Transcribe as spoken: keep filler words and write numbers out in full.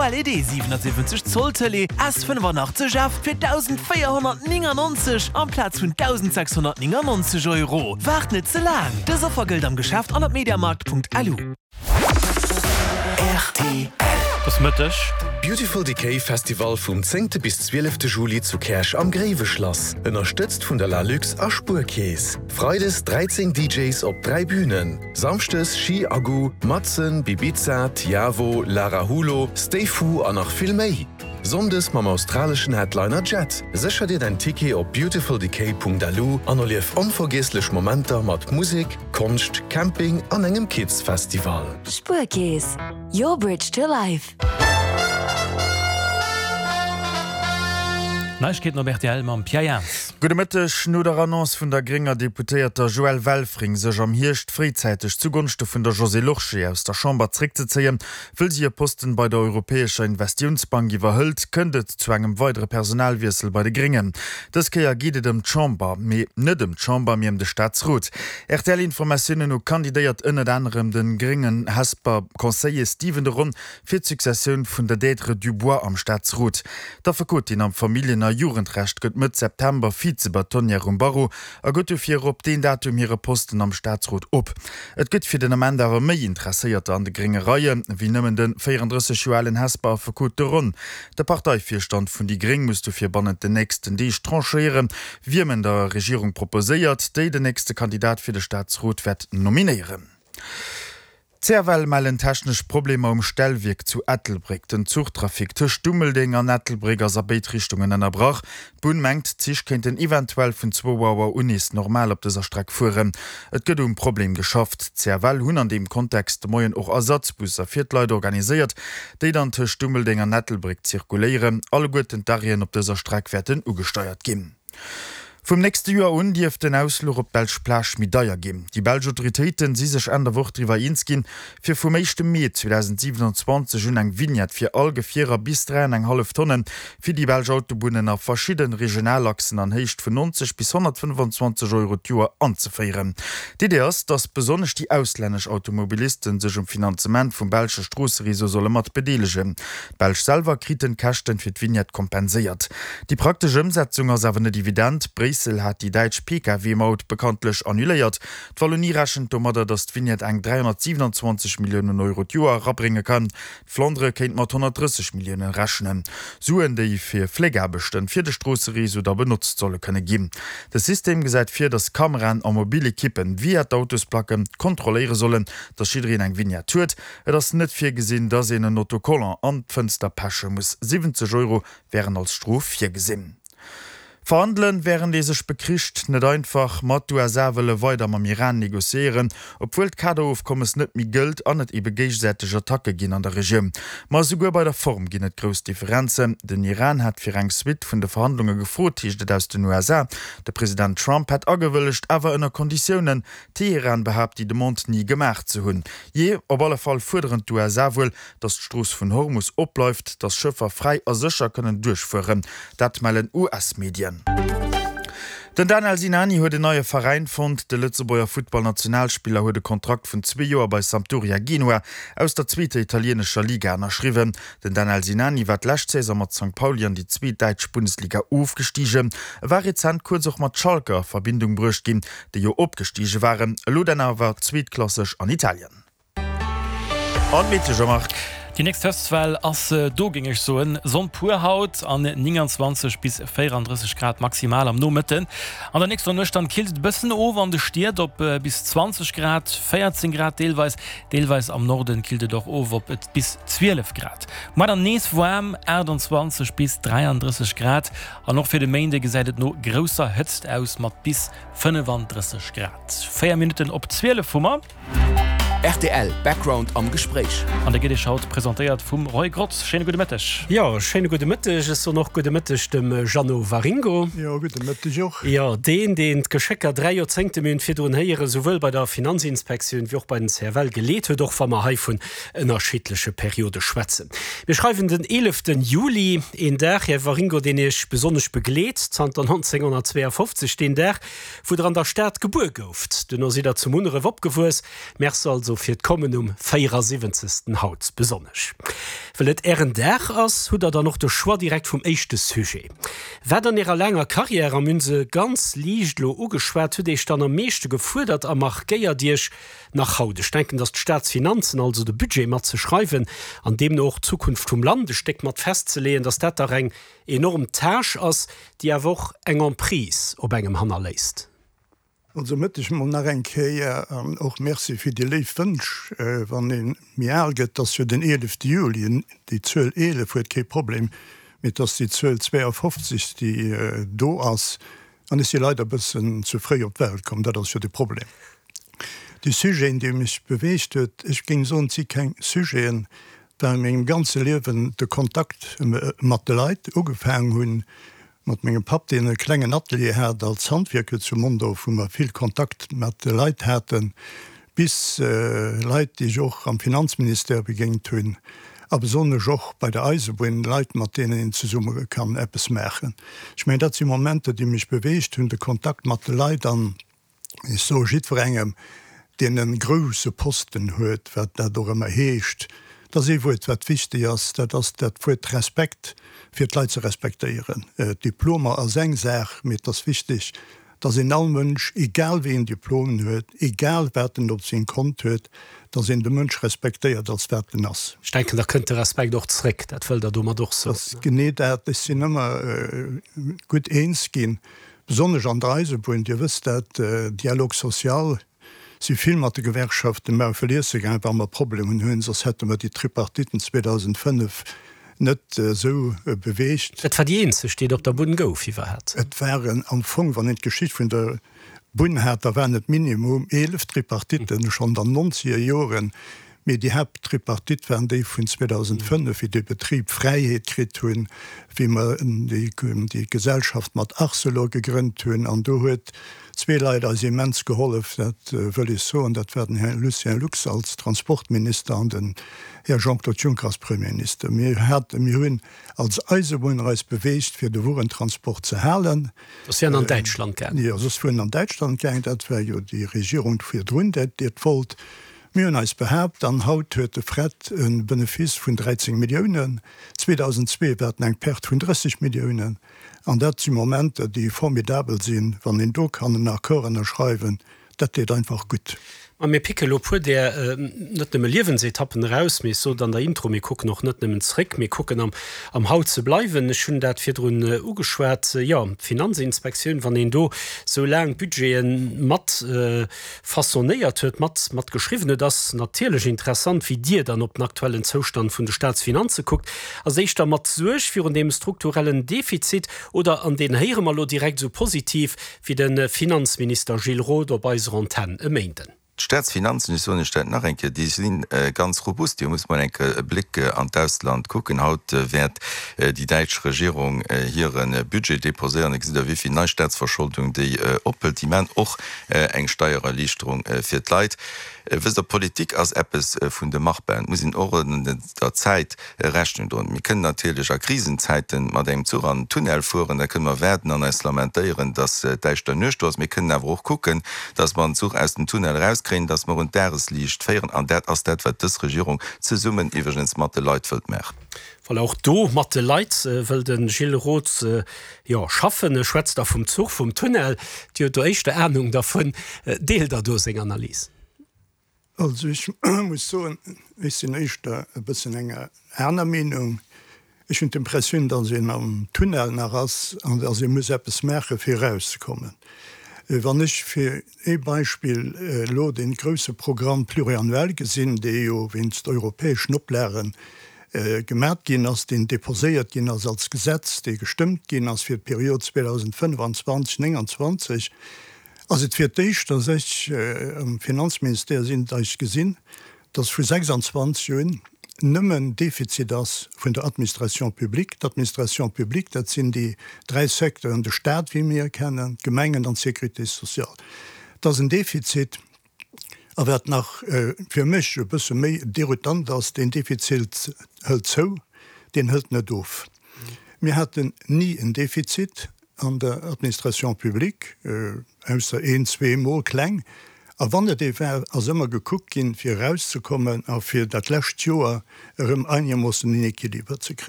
O L E D siwenasiwwenzeg Zoll Tëlee S fënnefanaachtzeg F fir dausendvéierhonnertnéngannonzeg amplaz vun dausendsechshonnertnéngannonzeg Euro. Waart net ze laang! Dës Offer gëllt am Geschäft an op mediamarkt Punkt L U. R T L. Et ass Mëtteg. Beautiful Decay Festival vum zéngte bis zwielefte Juli zu Käerch am Gréiweschlass. Ënnerstëtzt vun der Lalux a Spuerkeess. Freides dräizéng D Js op dräi Bünen. Samschdes Ski Aggu, Madsen, Bibiza, Tiavo, Lara Hulo, Stay Fu an nach vill méi. Sonndes mam australeschen Headliner Jet. Sécher dir däin Ticket op beautifuldecay Punkt L U an erlief onvergiesslech Momenter mat Musek, Konscht, Camping an engem Kids Festival. Spuerkeess, your bridge to life. Neiegkeeten op R T L mam Pierre Jans. Gudde Mëtteg. No der Annonce vun der grénger Deputéierter Joëlle Welfring, sech am Hierscht fréizäiteg zugonschte vun der Josée Lorsché aus der Chamber zréckzezéien, wëll si e Posten bei der Europäescher Investitiounsbank iwwerhëlt, kënnt et zu engem weidere Personalwiessel bei de Gréngen. Dës Kéier geet et ëm d'Chamber, mee net ëm d'Chamber, mee ëm de Staatsrot. R T L-Informatiounen no kandidéiert ënnert anerem de gréngen Hesper Conseiller Stephen de Ron fir d'Successioun vun der Deirdre Dubois am Staatsrot. D'Affekotin am Familljen a Jugendrecht gëtt Mëtt September Vize-Bâtonnière um Barreau a gëtt dofir op deen Datum hire Posten am Staatsrot op. Et gëtt fir den Ament awer méi Interesséierter an de grénge Reie wéi nëmmen de véierandrësseg Joer alen Hesper Affekot de Ron. De Parteivirstand vun déi gréng muss dofir bannent den nächsten Deeg tranchéieren, wiem en der Regierung proposéiert, déi den nächste Kandidat fir de Staatsrot wäert nominéieren. D' C F L mellen technesch Problemer um Stellwierk zu Ettelbréck. Den Zuchtrafic tëscht Dummeldeng an Ettelbréck ass a béid Richtungen ënnerbrach. D'Bunn mengt, d'Zich kéinten eventuell vun zwou Auer un nees normal op dëser Streck fueren. Et gëtt um Problem geschafft. D' C F L hunn an deem Kontext de Moien och Ersatzbusser fir d'Leit organiséiert, déi dann tëscht Dummeldeng an Ettelbréck zirkuléieren. Alleguerten d'Arrêten op dëser Streck wäerten ugesteiert ginn. Vum nächste Joer un dierft den Ausfluch op d'belsch Plage méi deier ginn. Déi belsch Autoritéiten si sech Enn der Woch driwwer eens ginn, fir vum éischte Mee zweedausendsiwenanzwanzeg un eng Vignette fir all Gefierer bis dräi an eng hallef Tonne fir déi belsch Autobunnen a verschidde Regionalachsen an Héicht vun nonzeg bis honnertfënnefanzwanzeg Euro d'Joer anzeféieren. D'Idee ass, datt besonnesch déi auslännesch Automobilisten sech um Finanzement vum belsche Stroossereseau solle mat bedeelegen. D'Belsch selwer kriten d'Käschten fir d'Vignette kompenséiert. Déi praktesch Ëmsetzung ass awer net evident. Bréissel hat déi däitsch P K W-Maut bekanntlech annuléiert. D'Wallonie rechent domadder, datt d'Vignette eng dräihonnertsiwenanzwanzeg Milliounen Euro d'Joer erabrénge kann. D'Flandere kéint mat honnertdrësseg Milliounen rechnen. Suen, déi fir Fléckaarbechten fir de Stroossereseau da benotzt solle kënne ginn. De System gesäit vir, datt Kameraen a mobil Ekippen via d'Autosplacken kontrolléiere sollen, datt jiddereen eng Vignette huet. Et ass net virgesinn, datt een en Autocollant an d'Fënster peche muss. Siwwenzeg Euro wären als Strof virgesinn. Verhandelen, wärend ee sech bekricht, net einfach, ma d'U S A wëlle weider mam Iran negociéieren, obwuel d'Kaderofkommes net méi gëllt an et ebe géigesäiteg Attacke ginn an der Regioun. Ma esouguer bei der Form ginn et grouss Differenzen. Den Iran hat fir eng Suite vun de Verhandlunge gefrot, heescht et aus den U S A. De President Trump hätt agewëllegt, awer ënner Konditiounen. Teheran behaapt, déi Demande ni gemaach ze hunn. Jee, op alle Fall fuerderen d'U S A wuel, datt d'Strooss vun Hormus opbleift, datt Schëffer fräi a sécher kënnen duerchfueren. Dat mellen U S-Medien. Den Danel Sinani huet en neie Veräin fonnt. De Lëtzebuerger Futtballnationalspiller huet e Kontrakt vun zwee Joer bei Sampdoria Genua aus der zweeter italieenescher Liga ënnerschriwwen. Den Danel Sinani war d'lescht Saison mat Sankt Pauli an déi zweet däitsch Bundesliga ofgestigen. E war rezent kuerz och mat Schalke a Verbindung bruecht ginn, déi jo opgestige waren, elo dann awer zweetklasseg an Italien. An d'Meteo, Jean-Marc. Déi nächst Hëtztwell ass do, géing ech soen. Sonn pur haut an nénganzwanzeg bis véierandrësseg Grad maximal am Nomëtten. An der nächster Nuecht dann killt et e bëssen of an de Stied op bis zwanzeg Grad, véierzéng Grad deelweis. Deelweis am Norden killt et och of op bis zwielef Grad. Muer dann nees waarm, aachtanzwanzeg bis dräiandrësseg Grad. An och fir de Méinde gesäit et no grousser Hëtzt aus mat bis fënnefandrësseg Grad. Véier Minutten op zwielef hu mer. R T L Background am Gespréich. An der gëtt Iech haut presentéiert vum Roy Grotz. Schéine gudde Mëtteg. Jo, schéine gudde Mëtteg. Ech soen och gudde Mëtteg dem Jeannot Waringo. Jo, gudde Mëtteg och. Jo, deen, deen d'Geschécker dräi Joerzéngte, mir hunn et virdrun héieren, souwuel bei der Finanzinspektioun wéi och bei den C F L geleet huet, och wa mer hei vun ënnerschiddleche Periode schwätzen. Mir schreiwen den eeleften Juli, een Dag, Här Waringo, deen Iech besonnesch begleet zanter nonzénghonnertzweeafofzeg, deen Dag, wou Der an der Stad gebuer gouft. Duerno sidd Der zu Munneref opgewuess. Merci also also fir d'Kommen um véierasiwwenzegsten haut besonnesch. Well et Ären Dag ass, hutt Der dann och de Choix direkt vum éischte Sujet. Wat an Ärer laanger Karriär, a mir hunn se ganz liicht elo ugeschwat, huet Iech dann am meeschte gefuerdert a markéiert Iech nach haut? Ech denken, datt d'Staatsfinanzen, also de Budget mat ze schreiwen an deemno och d'Zukunft vum Land e Stéck mat festzeleeën, datt dat dach eng enorm Tâche ass, déi awer och eng Emprise op engem hannerléisst. Also Mëtteg mol nach eng Kéier an och Merci fir déi léif Wënsch. Wann ee méi al gëtt, ass jo den eelefte Juli, déi Zuel eelef huet kee Problem, mee et ass déi Zuel zweeafofzeg, déi do ass. An ech si leider e bëssen ze fréi op d'Welt komm, dat ass jo de Problem. Déi Sujeten, déi mech beweegt huet, ech géing soen, et si keng Sujeten, well a mengem ganze Liewen de Kontakt mat de Leit ugefaangen hunn, Mat mengem Papp, deen e klengen Atelier hat als Handwierker zu Mondorf, wou mer vill Kontakt mat de Leit haten, bis Leit, déi ech och am Finanzministère begéint hunn, a besonnesch och bei der Eisebunn, Leit, mat deenen een zesumme kann eppes maachen. Ech mengen, dat si Momenter, déi mech beweegt hunn, de Kontakt mat de Leit. An ech soe jiddwerengem, deen e grouse Posten huet, wat dat och ëmmer heescht, Et ass ee Wuert, wat wichteg ass, dat ass dat Wuert Respekt, fir d'Leit ze respektéieren. Diplomer ass eng Saach, mee et ass wichteg, dass een all Mënsch, egal wéi een Diplom en huet, egal wat en op sengem Kont huet, dass een de Mënsch respektéiert als wat en ass. Ech denken, da kënnt de Respekt och zréck. Dat wëllt Der domat och soen? Dat ass genee dat. Ech sinn ëmmer gutt eens ginn, besonnesch an der Eisebunn, Dir wësst dat, Dialogue social, Si vill mat de Gewerkschaften Maufel iesse gaangen, wa mer Problemen hunn, soss hätte mer déi Tripartiten zweedausendfënnef net esou beweegt. Et war déi eenzeg, déi et op der Bunn gouf iwwerhat. Et waren am Fong, wann een d'Geschicht vun der Bunn hat, da waren et minimum eelef Tripartiten, schonn an den nonzeger Joren. Mee déi Haapttripartite waren déi vun zweedausendfënnef, wéi de Betrib Fräiheet kritt hunn, wéi mer déi Gesellschaft mat Arcelor gegrënnt hunn. An do huet zwee Leit eis immens gehollef, dat wëll ech soen, dat war den Här Lucien Lux als Transportminister an den Här Jean-Claude Juncker als Premierminister. Mir haten, mir hunn als Eisebunner eis beweegt, fir de Wuerentransport ze halen. Soss wier en an Däitschland gaangen. Jo, soss wier en an Däitschland gaangen. Dat war jo déi Regierung virdrun, déi et wollt. Mir hunn eis behaapt, an haut huet de Fret e Benefice vun dräizéng Milliounen, zweedausendzwee war en eng Perte vun drësseg Milliounen. An dat si Momenter, déi formidabel sinn, wann een do kann en Accord ënnerschreiwen, dat deet einfach gutt. Ma mir picke lo puer där net nëmme Liewensetappen eraus, mee ech sot an der Intro, mir kucken och net nëmmen zréck, mir kucken am am Haut ze bleiwen. Ech hunn dat virdrun ugeschwat, jo, d'Finanzinspektioun, wann een do sou laang Budgete mat façonnéiert huet, mat mat geschriwwen huet, ass natierlech interessant, wéi Dir dann op den aktuellen Zoustand vun de Staatsfinanze kuckt. Ass éischter mat Suerg virun deem strukturellen Defizit oder, an deen héiere mer elo direkt esou positiv wéi de Finanzminister Gilles Roth op eiser Antenn e Méinden. D'Staatsfinanzen, ech soen lech dat nach eng Kéier, déi si ganz robust. Dir musst mol eng Kéier e Bléck an d'Ausland kucken. Haut wäert déi däitsch Regierung hire Budget deposéieren. Da gesitt Der, wéi vill nei Staatsverscholdung déi ophëlt. Déi maachen och eng Steiererliichterung fir d'Leit. Wësst Der, Politik ass eppes vun de Machbaren. Et muss een och der Zäit Rechnung droen. Mir kënnen natierlech a Krisenzäite mat engem Zuch an den Tunnel fueren, da kënne mer waarden an eis lamentéieren, datt däischter Nuecht do ass. Mir kënnen awer och kucken, datt mer den Zuch aus dem Tunnel erauskréien, datt mer un d'Dagesliicht féieren. An dat ass dat, wat dës Regierung zesummen iwwregens mat de Leit wëllt maachen. Voilà, och do mat de Leit wëll de Gilles Roth jo schaffen. E schwätzt da vum Zuch, vum Tunnel. Dir hutt do éischter Anung dervun. Deelt Der do seng Analys? Also ech muss soen, ech sinn éischter e bëssen enger aner Meenung. Ech hunn d'Impressioun, datt een am Tunnel nach ass an datt ee muss eppes maache fir erauszekommen. Wann ech fir ee Beispill elo dee grouse Programme pluriannuel gesinn, dee jo wéinst europäeschen Oplage gemat ginn ass, deen déposéiert ginn ass als Gesetz, dee gestëmmt ginn ass fir d'Period zweedausendfënnfanzwanzeg, nénganzwanzeg, Ass et fir d'éischt, datt ech am Finanzministère sinn, datt ech gesinn, datt vu sechsandzwanzeg un nëmmen Defizit ass vun der Administration publique. D'Administration publique, dat sinn déi dräi Secteuren, de Stat, wéi mir e kennen, d'Gemengen an d'Sécurité sociale. Et ass en Defizit. A wat nach fir mech e bësse méi déroutant ass, deen Defizit hëlt zou, deen hëlt net of. Mir haten ni en Defizit an der Administration publique, ausser een, zwee Mol kleng. A wann et ee war, ass ëmmer gekuckt ginn, fir erauszekommen a fir dat lescht Joer erëm einermoossen en Equiliber ze kréien.